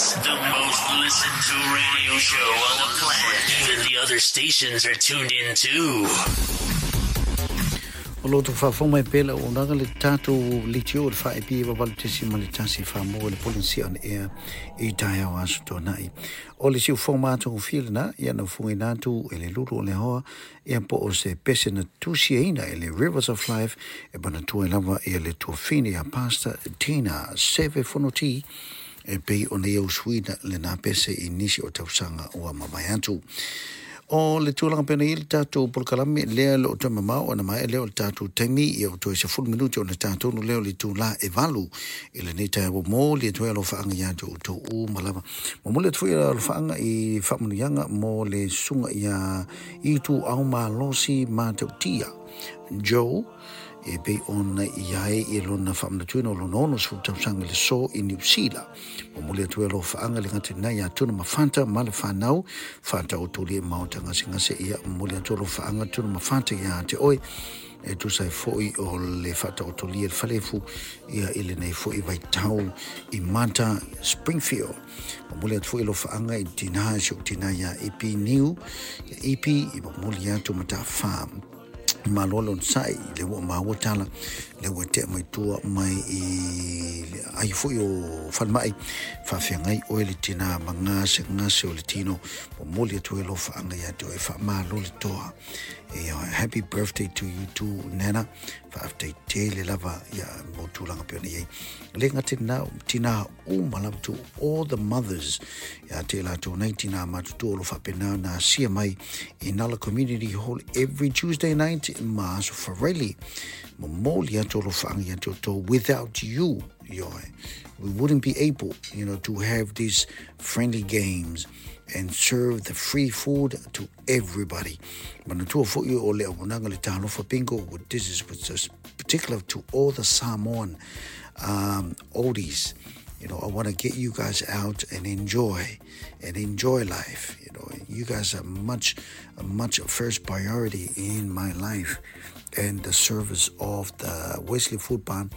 The most listened to radio show on the planet. Even the other stations are tuned in too. O lo outou faafofoga mai pea le auaunaga le tatou litio o le 4AP 8.1 Samoa le Polynesia on Air i taeao aso tuanai. O le siufofoga matagofie lena, ia na ufugaina atu e le lulu o le hoa, ia po o se pese na tusiaina e le Rivers of Life e manatua ai lava ia le tuafine ia Pastor Tina Seve Fonoti e pei ona ia usuina lena pese i nisi o tausaga ua mavae atu. O le tulaga pena i le tatou polokalame lea le o toe mamao ona maea lea o le tatou taimi ia o toe 10 minute ona tatonu lea o le itulā e 8 i lenei taeao momoli atu ai alofaaga ia te outou uma lava. Momoli atu foi alofaaga i faamanuiaga mo le susuga ia Ituau Malosi Matautia Joe e pei ona i ai i lona faamanatuina o lona 60 tausaga i le so i Niu Sila. Momoli atu ai alofaaga le gata i ia Tuna ma Fata ma le whanau, Fata o tuli e maota gasegase ia momoli atu alofaaga Tuna ma Fata ia te oe e tusa ai foi o le faataotolia le falefu ia i lenei foi vaitau i Mata Springfield. Momoli atu foi alofaaga i tina si o tina ia Ipi Niu, ia Ipi i momoli atu matawha. Malo le onosai, le ua maua tala, le ua tea mai tua mai i le ai foi o falemai, faafeagai oe le tina ma gasegase o le tino, momoli atu ai alofaaga ia te oe, faamalo le toa. E, happy birthday to you too, Nana. Faafetai tele lava ia mo tulaga pe ona i ai. Le gata na tina uma lava to all the mothers ia te latou nei tina matutua o lo faapena na asia mai i Nala Community Hall every Tuesday night ma aso Fareli. Momoli atu alofaaga ia te outou. Without you, ioe, we wouldn't be able, you know, to have these friendly games and serve the free food to everybody. Manatua foi o le auaunaga le Talofa Bingo, this is just particular to all the Samoan oldies. You know, I want to get you guys out and enjoy life. You know, you guys are much, much first priority in my life and the service of the Wesley Food Barn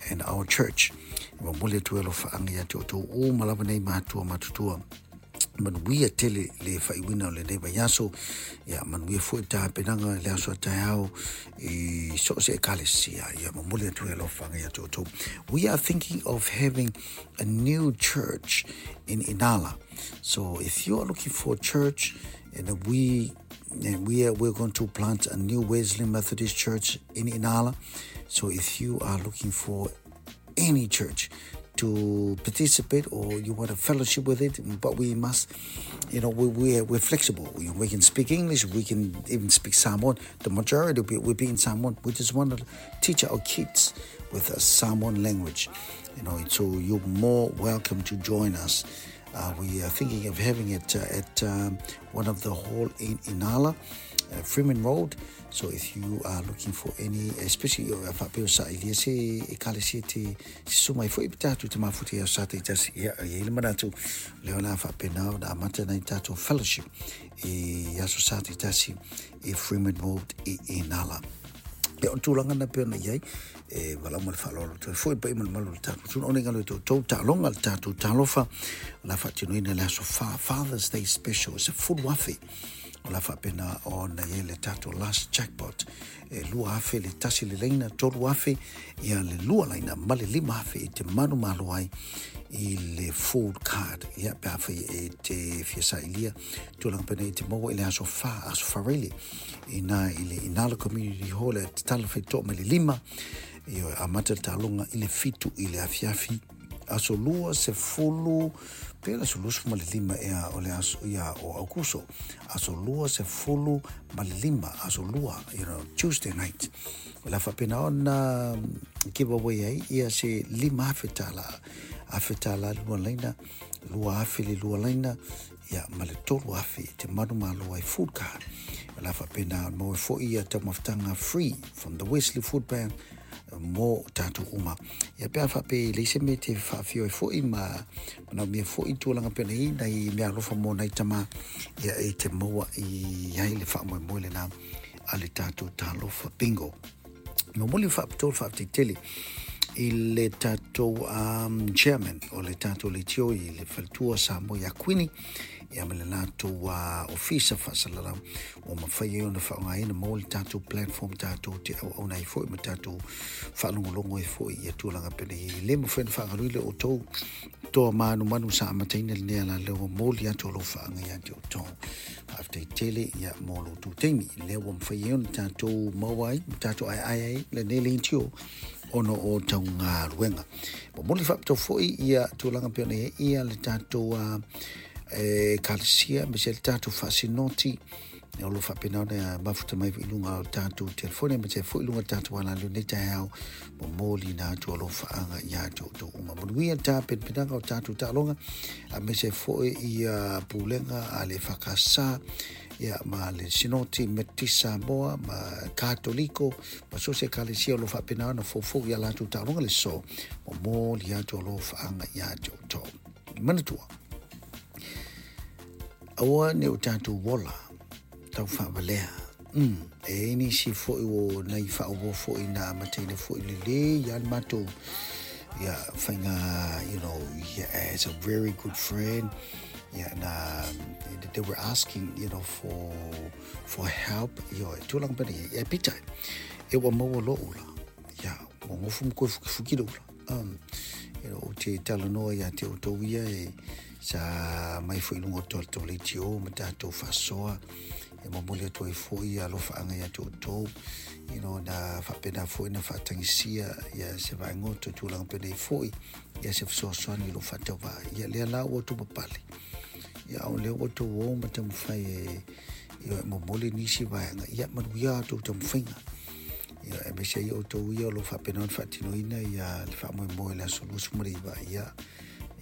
and our church. Momoli atu ai alofaaga ia te outou uma lava nei matua matutua. Manuia tele le faaiuina o lenei vaiaso, ia manuia foi tapenaga i le aso a taeao i so o se ekalesia. Ia momoli atu ai alofaaga ia te outou. We are thinking of having a new church in Inala. So if you are looking for a church, and we're going to plant a new Wesley Methodist Church in Inala. So if you are looking for any church to participate or you want to fellowship with it, but we must, you know, we're flexible. We can speak English, we can even speak Samoan. The majority will be in Samoan. We just want to teach our kids with a Samoan language, you know, so you're more welcome to join us. We are thinking of having it at one of the hall in Inala, Freeman Road. So if you are looking for any, especially faapea o sailia se ekalesia te susu mai foi tatou te mafuta ia sa te tasi ia i le manatu lea o le a faapena ona amata nai tatou fellowship i aso sa te tasi i Freeman Road i Inala. Ia o tulaga na pei ona i ai e valaau ma le faaaloalo atu ai foi le paia ma le mamalu o le tatou atunuu ona i galo i tou taaloga le tatou talofa o le a faatinoina le aso fa Father's Day special se 10,000 o le a faapena ona i ai le tatou last jackpot e 2,000 le tasi le laina 3,000 ia le lua laina ma le 5,000 i te manumalo ai i le food card ia pe afai e te fia sailia tulaga pena i te maua i le aso fa aso farele i na i le Inala Community Hall e tatala whaitoa mai le 5 ia amata le taaloga i le 7 i le afiafi aso 20 pe le aso 25 ea o le aso ia o Aukuso aso 25 aso 2, you know, Tuesday night o le a faapena ona give away ai ia se 5,000 tala afe tala lua laina 2,000 le lua laina ia ma le 3,000 te manumalo ai food card o le a faapena ona maua foi ia taumafataga free from the Wesley Food Bank mo tatou uma. Ia pe a faapea e leai se mea te faafio ai foi ma manaomia foi tulaga pea nei nai mea alofa mo nai tama ia e te maua i ai le faamoemoe lena a le tatou talofa bingo. Momoli faapitoa le faafetai tele i le tatou chairman o le tatou leitio i le faletua Samoa ia Kuini ia ma le latou ofisa faasalalau ua mafai ai ona faaaogaina mo le tatou platform tatou te auauna ai foi ma tatou faalogologo ai foi ia tulaga penei e le mafai ona faagaluile outou toa manumanu sa amataina lenei ala ua moli atu alofaaga ia te outou. Faafetai tele ia mo lo outou taimi lea ua mafai ai ona tatou maua ai ma tatou aeae ai lenei leitio ona o taugaluega. Momoli faapitoa foi ia tulaga pei ona i ai ia le tatou ekalesia aemaise le tatou faasinoti o lo o faapena ona mafuta mai i luga o tatou telefoni aemaise foi i luga o tatou alaleo nei taeao momoli na atu alofaaga ia te outou uma. Manuia le tapenapenaga o tatou taaloga aemaise foi ia pulega a le EFKS ia ma le Sinoti Metotisi Samoa ma Katoliko ma so o se ekalesia o lo o faapena ona foufou ia latou taaloga le so momoli atu alofaaga ia te outou. Manatua, aua ne o tatou ola tau faavalea. E nisi foi o nai faaauau foi na amataina foi lelei ia le matou ia faiga, yeah, as a very good friend, yeah, na they were asking for help tulaga pena ia pita e ua maua lo'u ula ia ua gofu ma koe fukifuki le ula o te talanoa ia te outou ia e sa mai foi i luga o tatou leitio ma tatou faasoa e momoli atu ai foi alofaaga ia te outou na faapena foi na faatagisia ia se vaegoto tulaga penei foi ia se fesoasoani i lo faatauvaa ia lea la ua outou papale ia o lea ua outou o ma taumafai e e momoli nisi vaega ia manuia outou taumafaiga ia aemaise ai outou ia o lo faapena ona faatinoina ia le faamoemoe le aso 29 ia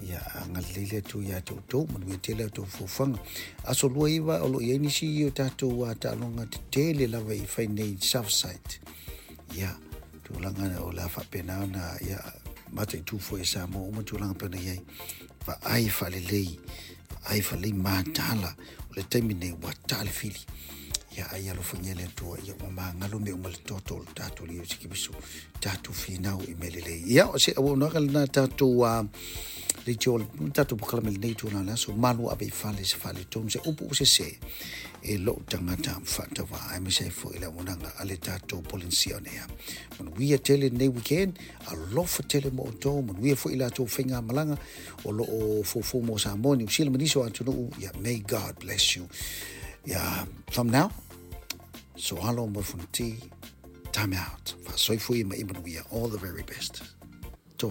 ia agalelei le Atua ia te outou manuia tele outou fofoga aso 29 o lo o i ai nisi o tatou taaloga tetele lava i fai nei Southside ia tulaga o le a faapena ona ia mataitu foi e Samoa uma tulaga pei ona i ai vaai faalelei vaai faalelei matala o le taimi nei ua ta le fili ia ai alofagia le Atua ia ua magalo mea uma le toto o le tatou Alii Iesu Keriso tatou finau i mea lelei ia o se auaunaga lena tatou leitio tatou polokalame lenei tulaga le aso malu ave i fale se faaletonu se upu ua sese e lou tagata faatauvaa aemaise ai foi le auaunaga a le tatou Polenisia on Air. Manuia tele lenei weekend, alofa tele mo outou, manuia foi i latou faigamalaga o lo o foufou mo Samoa, Niu Sila ma nisi o atunuu. Yeah, may God bless you. Yeah, from now, so alo mo fonoti, time out. Faasoifua ma ia manuia. All the very best.